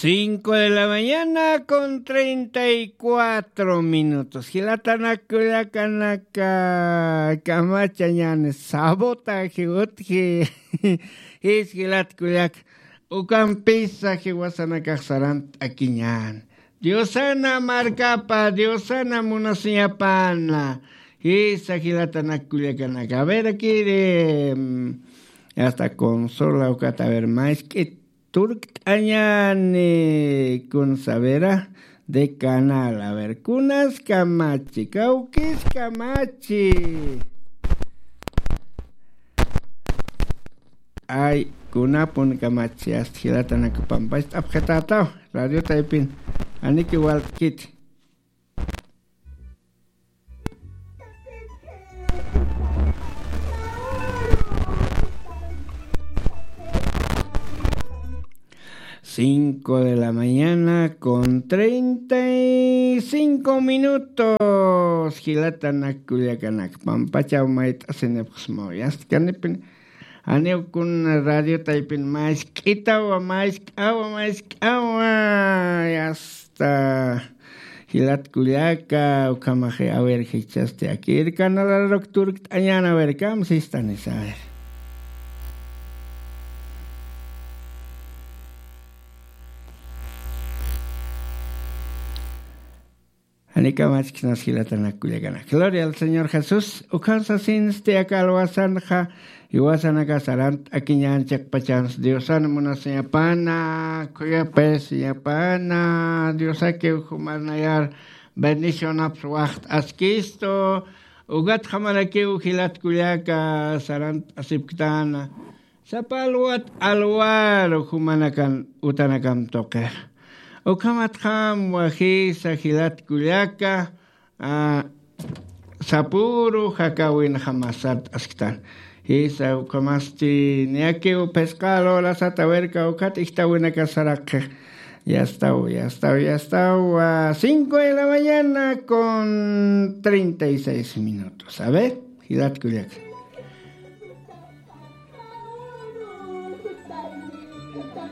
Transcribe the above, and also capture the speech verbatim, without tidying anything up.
Cinco de la mañana con treinta y cuatro minutos. Jilatanak kullakanaka, kamachañan sabotaje utji. Jis jilat kullak, ukampisa jiwasanakax sarant'akiñan. Diosana markapa, Diosana munasiñapana. Jisa jilatanak kullakanaka. A ver, akiri, mm, hasta consola ukata, a ver, mask'it turkt'añani, kun savera de canal. A ver, kunas kamachi, kawkis kamachi. Ay, kunapun kamachi, hasta jilatanak pampach t'apxitataw, radio taypin, aniki walt'kiti. Cinco de la mañana con treinta y cinco minutos. Jilatanak kullakanak, pampachaw mayt'asinipxsmaw, yastkanipin. Janiw kun radio taypin mask'itawa, mask'awa, mask'awa. Yasta. Jilat kullaka, ukhamaxi, a ver, jichhasti akir canal araruk turkt'añan, a ver, kamsistanisa, a ver. Janikamachkisnas jilatanak kullakanak. Gloria al Señor Jesús. Ukham sasinsti aka alwasanxa, jiwasanaka sarant'akiñan chiqpachans Diosan munasiñapana, khuyapayasiñapana, Diosakiw jumanayar bendicionaps waxt'askistu, ukatxa marakiw jilat kullaka sarant'asipktana. Sapa alwat alwaru jumanakan utanakam tuqix. Ukhamatxam wajisa jilat kullaka, a, sapüru jakäwinxa masat asktan. Jisa ukhamasti niyakiw phisqa lurasat a ver kawkhat ijtawinakas saraqxix. Yastaw, yastaw, yastaw. A, cinco de la mañana con treinta y seis minutos. A ver, jilat kullaka.